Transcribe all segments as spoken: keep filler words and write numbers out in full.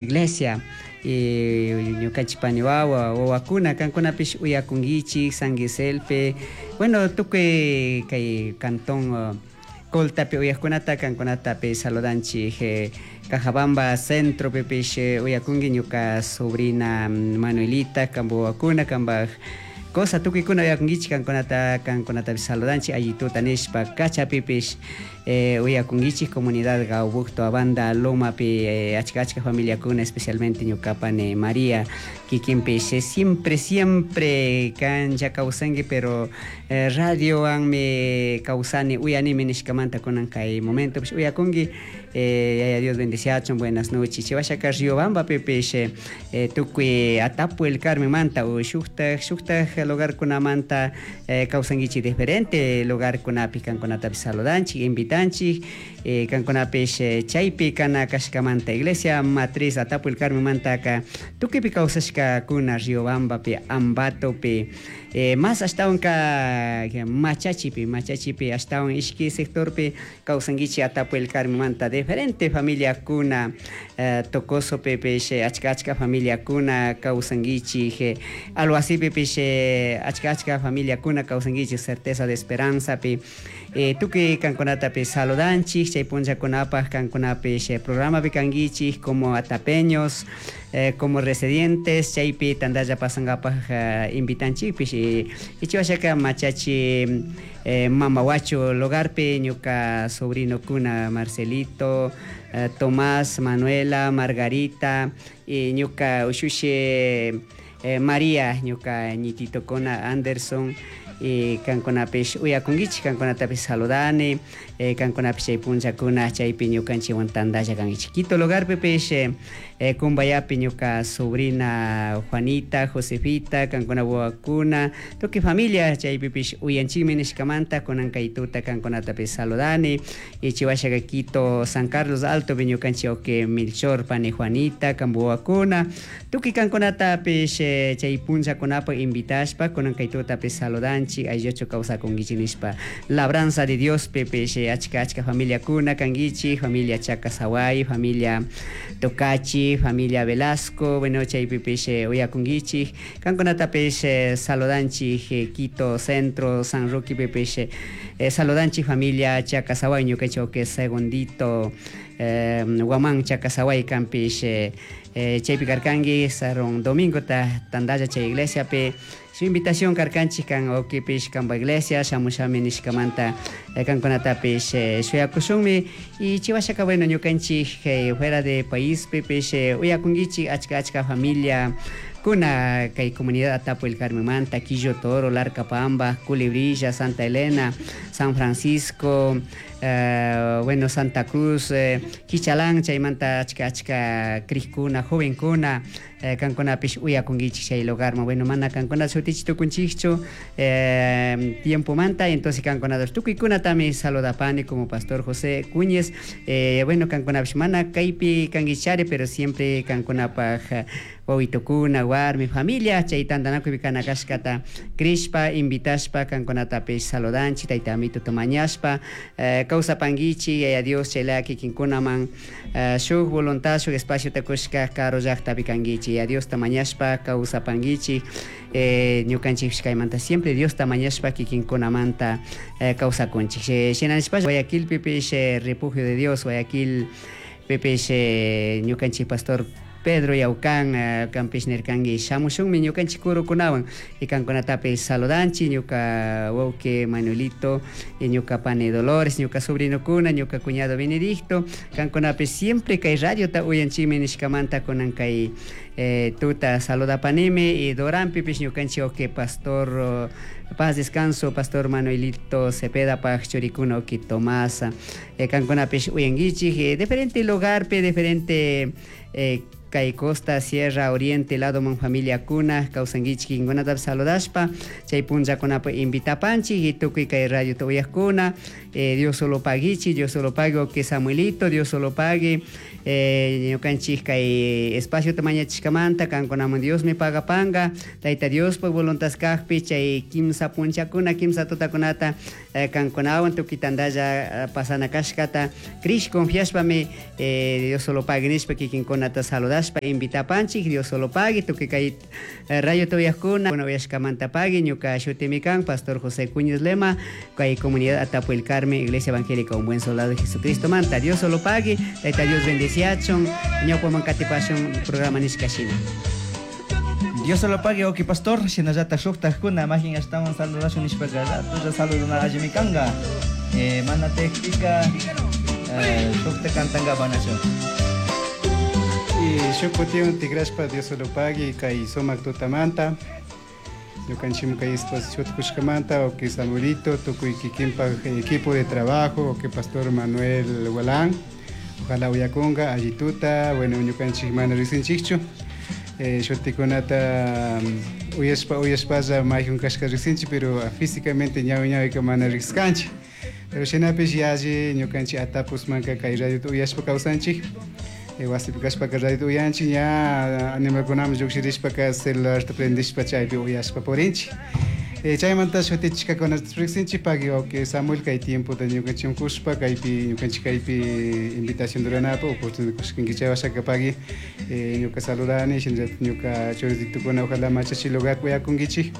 Iglesia y ñukanchik pani wawa wawakuna kankunapish uyakunkichik San Giselpi, bueno, tukuy kay cantón Coltapi uyakkunata kankunatapish saludanchik. Cajabamba centropipish uyakunki ñuka sobrina Manuelita, kanpak wawakuna, kanpak cosa tukuykuna uyakunkichik, kankunata kankunatapish saludanchik allituta nishpa. Cachapipish uyakunkichik comunidad Gaubucto Abanda Lomapi achka achka familiakuna, especialmente ñuka pani María kikinpish siempre siempre kanlla kawsanki, pero radiowanmi kawsani uyanimi nishkamanta kunan kay momentopish uyakunki. Yaya Dios bendiciachun, buenas noches. Chiwashaka Riobambapipish tukuy Atapu El Carmenmanta o shuktak shuktak lugarkunamanta kawsankichik diferente lugarkunapi kankunatapish saludanchik, invitanchik kankunapish chaypi kana kashkamanta iglesia matriz Atapu El Carmenmantaka tukuypi kawsashkakuna Riobambapi, Ambatopi, mas ashtawanka Machachipi, Machachipi ashtawan ishki sectorpi kawsankichik Atapu El Carmenmanta diferente familiakuna, Tocosopipish achka achka familiakuna kawsankichik, Alhuacipipish achka achka familiakuna kawsankichik, Certeza de Esperanzapi, tukuy kankunatapish saludanchik. Chay punllakunapak kankunapish programapi kankichik como atapeños, como residentes, chaypi tantalla pasankapak invitanchikpish. Ichiwashaka Machachi Mamahuacho lugarpi ñuka sobrinokuna Marcelito, Tomás, Manuela, Margarita y ñuka ushushi María, ñuka ñititokuna Anderson, y kankunapish uyakunkichik, kankunatapish saludani, kankunapish chay punllakuna chaypi ñukanchikwan tantalla kankichik. Quito lugarpipish Cumbayapi ñuka sobrina Juanita, Josefita, kankuna wawakuna, tukuy familia chaypipish uyanchikmi nishkamanta kunan kay tuta kankunatapish saludani. Y chiwashaka Quito San Carlos Altopi ñukanchik wawki Melchor pani Juanita, kanpak wawakuna, tukuy kankunatapish chay punllakunapak invitashpa kunan kay tutapish saludanchik, aylluchu kawsakunkichik nishpa. Labranza de Diospipish achka achka familiakuna kankichik, familia Chacasaway, familia Tocachi, familia Velasco, bueno, chaypipish uyakunkichik, kankunatapish saludanchik. Quito Centro, San Roquepipish saludanchik familia Chacasaway, ñukanchik wawki Segundito Guamán Chacasaway kanpish chaypi karkanki sarun domingota tantalla chay iglesiapi su invitación karkanchik kan wawkipish kanpak iglesia shamushami nishkamanta kankunatapish shuyakushunmi. Y chiwashaka, bueno, ñukanchik fuera de paispipish uyakunkichik achka achka familia kuna kay comunidad Atapu El Carmenmanta, Quillo Toro, Larcapamba, Culebrilla, Santa Elena, San Francisco, bueno, Santa Cruz, Quichalán, chaymanta achka achka crikuna, jovenkuna kankunapish uyakunkichik chay lugarman. Bueno, mana kankuna shutichi tukunchikchu tiempomanta, entonces kankunatapish tukuykunatami saludapani como pastor José Cuñez. Bueno, kankunapish mana kaypi kankichari, pero siempre kankunapak wawitukuna, warmi, familia chay tantanakuypi kana kashkata crishpa, invitashpa kankunatapish saludanchik, tayta amituta mañashpa kawsapankichik. Yaya Dios chaylaya kikinkunaman shuk voluntad, shuk espaciota kushka karu llaktapi kankichik, Yaya Diosta mañashpa kawsapankichik. Ñukanchikpish kaymanta siempre Diosta mañashpa kikinkunamanta kawsakunchik. Shina nishpa Guayaquilpipish Refugio de Dios Guayaquil pipish ñukanchik pastor Pedro Yaucán kanpish nirkanki shamushunmi ñukanchik kurukunawan y kankunatapish saludanchik, ñuka wawki Manuelito y ñuka pani Dolores, ñuka sobrinokuna, ñuka cuñado Benedicto, kankunapish siempre kay radiota uyanchikmi nishkamanta kunan kay tuta saludapanimi. Y Doranpipish ñukanchik wawki pastor paz descanso pastor Manuelito Cepeda pak churikuna wawki Tomás, kankunapish uyankichik diferente lugarpi, diferente kay costa, sierra, oriente ladoman familiakuna kawsankichik, kinkunatapish saludashpa chay punllakunapi invitapanchik. Y tukuy kay radiota uyakuna, Dios solo paguichik, Dios solo pague wawki Samuelito, Dios solo pague ñukanchik kay espaciota mañachishkamanta kankunaman Diosmi pagapanka, Tayta Diospak voluntad kakpi chay kimsa Kimsa punchakuna, kimsa tutakunata kankunawan tukuy tantalla pasana kashkata krish confiashpami Dios solo pague nishpa kikinkunata saludashpa invitapanchik Dios solo pague tukuy kay radio tuyakuna uyashkamanta pagui ñuka shutimi kan Pastor José Cuñez Lema kay comunidad Atapo el Carmen Iglesia Evangélica Un Buen Soldado de Jesucristo manta Dios solo pague Tayta Dios bendiciachun ñawpaman katipashun programa nishka shina. Dios solo pague oki pastor shinallata shuktajkuna majin ashtawan saludashun nishpaka ratulla saluduna allimi kanka eh, mana tekpika eh, shukta kantanga banachu. Y shuk kutiwan tikrashpa Dios solo pague kay sumak tutamanta ñukanchik kay exposición kushkamanta o que Samuelito tukuy kikinpak equipo de trabajo o que Pastor Manuel Gualán ojalá uyakunga allituta bueno ñukanchik mana riqsinchikchu eh, shutikunata uyashpa uyashpalla mayjun kashka riqsinchik pero físicamente ñawi ñawika mana riqskanchik pero shinapish yalli ñukanchik atapusmanka kay radiota uyashpa kawsanchik wasipi kashpaka radiota uyanchik ña animalkunaman lluqshirishpaka celularta prendishpa chaypi uyashpa purinchik chaymanta shutichishkakunata riqsinchik pagui wawqi Samuel kay tiempota ñukanchik kushpa kaypi ñukanchik kaypi invitación ruranapaq oportunidad kushkanki chay washaka pagui ñuka saludani shinallatak ñuka churititukuna ojalá machachi lugar uyakunkichik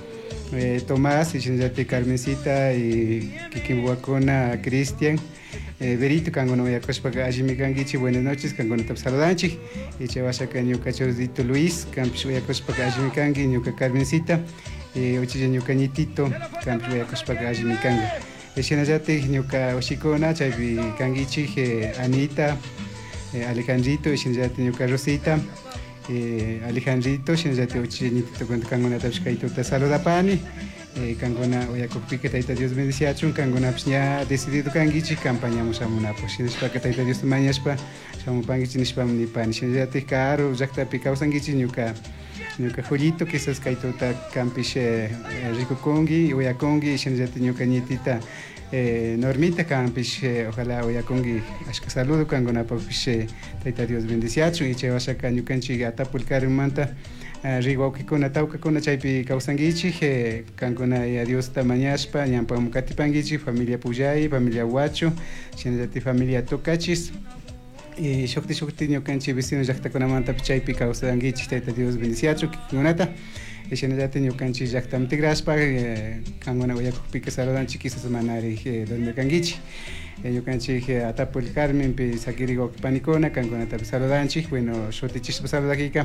Tomás y shinallatak Carmencita y kikin wawakuna Cristian Eh, Berito kankuna uyakushpaka allimi kankichik buenas noches kankunata saludanchik y chay washaka ñuka churito Luis kanpish uyakushpaka allimi kanki ñuka Carmencita uchilla ñuka ñitito kanpish uyakushpaka allimi kanka shinallatik ñuka ushikuna chaypi kankichik Anita Alejandrito shinallatik ñuka Rosita Alejandrito shinallatik uchilla ñitito kankunatapish kaytuta saludapani kankuna uyakukpika Tayta Dios bendiciachun kankunapish ña decidido kankichik campañamun shamunapaq shinashpaka Tayta Diosta mañashpa shamupankichik nishpami nipani shinallatik karu llaktapi kawsankichik ñuka ñuka Julito quizás kaytuta kanpish rikukunki uyakunki shinallatik ñuka ñitita Normita kanpish ojalá uyakunki ashka saludo kankunapakpish Tayta Dios bendiciachun y chay washaka ñukanchik Atapo el Carmenmanta riwawkikuna tawkakuna chaypi kawsankichik kankuna ya Diosta mañashpa ñampaman katipankichik familia Puyay, familia Huacho, shinallatik familia Tocachis y shukti shukti ñukanchik vecino llaktakunamantapish chaypi kawsankichik Tayta Dios bendiciachun kikinkunata shinallatik ñukanchik llaktaman tikrashpa kankuna uyakukpika saludanchik quizás manarik donde kankichik ñukanchik Atapo el Carmenpi sakirik wawqi panikuna kankunatapish saludanchik bueno shutichishpa saludakika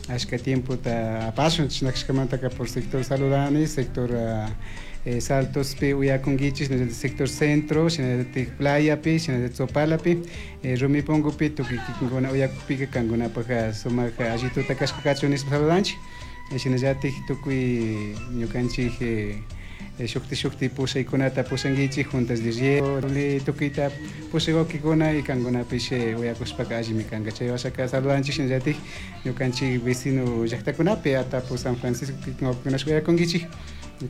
ashka tiempota apashun chishnakashkamantaka por sector saludani sector eh, Saltospi uyakunkichik shinallatik sector centro shinallatik playapi shinallatik Sopalapi eh, Rumipongopi tukuy kikinkuna uyakukpika kankunapak sumak allituta kashka kachun nishpa saludanchik shinallatik tukuy ñukanchik shukti shukti pushaykunata pushankichik juntas de riego tukuyta pushay wawqikuna y kankunapish uyakushpaka allimi kanka chay washaka saludanchik shinallatik ñukanchik vecino llaktakunapi Atapo San Francisco kikin wawqikunash uyakunkichik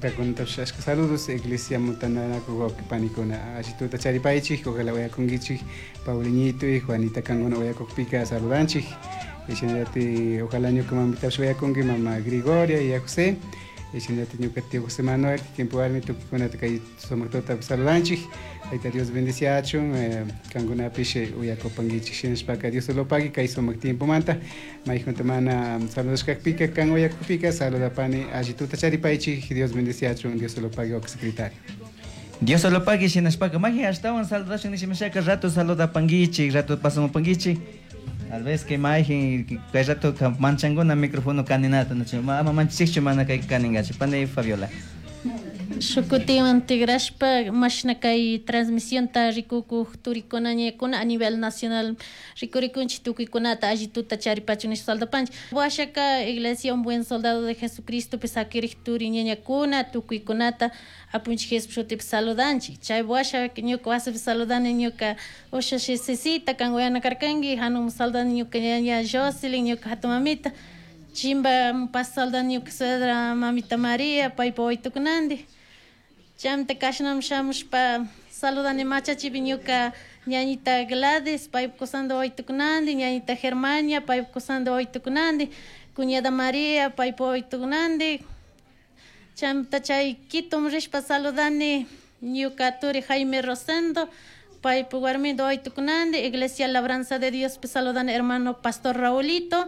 kankunatapish ashka saludos iglesia mutananakuq wawqi panikuna allituta charipaychik ojalá uyakunkichik Paulinito y Juanita kankuna uyakukpika saludanchik shinallatik ojalá ñuka mamitapish uyakunki mama Grigoria y a José shinallatik ñuka tío José Manuel kikinpak warmi tukuykunata kay sumak tutapi saludanchik Tayta Dios bendiciachun kankunapish uyakupankichik shinashpaka Dios solo pagui kay sumak tiempomanta mayjunta mana saludashkakpika kan uyakukpika saludapani allituta charipaychik Dios bendiciachun Dios solo pagui wawqi secretario. Dios solo pagui shinashpaka maji ashtawan saludashun nishimashaka rato saludapankichik rato pasamupankichik tal vez que majin kay rato manchankuna micrófono kaninata nachu ama manchikchu mana kay kaningachu pani Fabiola. Shukutiwan tigrashpa mashna kay transmisionta rikukuq turikuna ñakuna a nivel nacional rikurikunchik tukuykunata allituta charipachun nishpa saldapanchik washaka Iglesia Un Buen Soldado de Jesucristo pi sakirik turi ñañakuna tukuykunata apunchik Jesús shutipi saludanchik chay washa ñuka wasipi saludani ñuka ushashi Cecita kan uyana karkanki hanum saludani ñuka ñaña Jocelyn ñuka hatun mamita chimba pasaldani ñuka suegra mamita María paypa waytukunandi chamta kashnam shamushpa saludani machachipi ñuka ñañita Gladys paypa kusanta waytukunandi ñañita Germania paypa kusanta waytukunandi cuñada María paypa waytukunandi Chaymanta chay Quito rishpa saludani ñuka turi Jaime Rosendo, paypuk warminta wawitukunandi, Iglesia Labranza de Diospi saludani hermano Pastor Raulito.